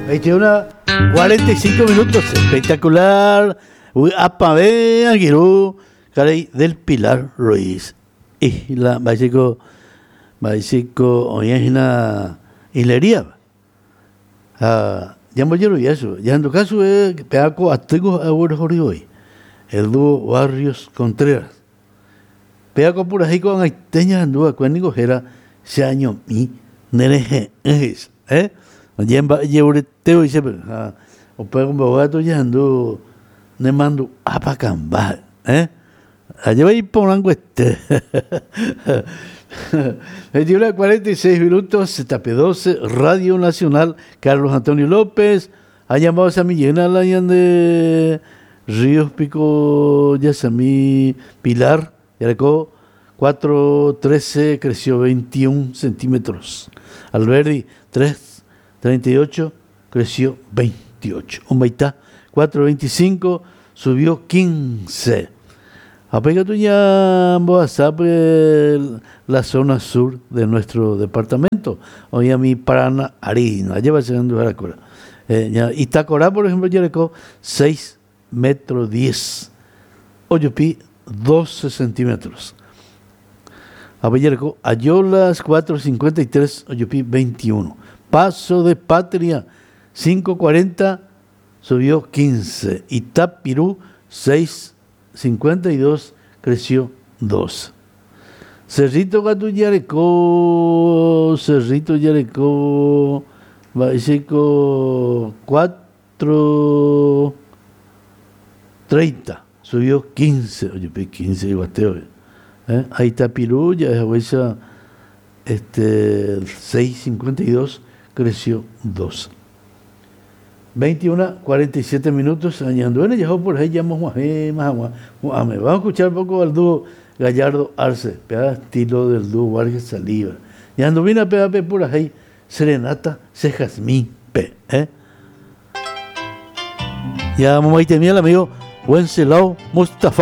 21 45 minutos, espectacular. Vy'apavẽ angirũ karai del Pilar Ruiz. Isla mba'éichiko mba'éichiko oĩ hína isleríava. Ha ñambojerovia chupe, ñahenduka chupe péva ko atýko ha'e oguerohory voi, el dúo Barrios Contreras. Péva ko purahéi ko'ag̃aite ñahendu va'ekue niko héra Che añomi ne rehe'ỹ he'ise. Eh? Oñemba'ejerureté voi chépe. Ha upe mboyve katu ñahendu ne mandu'ápa kamba. Eh? Ajépa iporãnguete. 21 46 minutos, Tape 12, Radio Nacional, Carlos Antonio López. Ha ñambohasami jeýna la ñande Ríos piko jasami Pilar, jareko 4.13 creció 21 centímetros. Alberdi 3.38 creció 28. Ombaita 4.25 subió 15. Ha pe katu ñambohasa pe la zona sur de nuestro departamento, oĩ ami Parana Arina, ajépa che renduharakuéra. Eh, Itakorá, por ejemplo, jareko 6 metro 10, ojupi 12 centímetros. Ha pe jareko Ayolas 4.53, ojupi 21. Paso de Patria 5.40, subió 15. Itapirú 6.52, creció 2. Cerrito katu jareko, Cerrito jareko, mba'éichako 4.30, subió 15, ojupi 15 yvatégui. Eh, ha Itapirú ja'ehaguéicha este 6.52, creció 2. 21, 47 minutos, añanduéne jaho por ahí jamohuahẽma hag̃ua hu'ãme. Vamos a escuchar un poco al dúo Gallardo Arce, péva estilo del dúo Vargas Saliva. Ñandumína péva pe purahéi Serenata che Jazmín-pe. Eh? Ñamomaitemi al amigo Wenceslao Mustafa.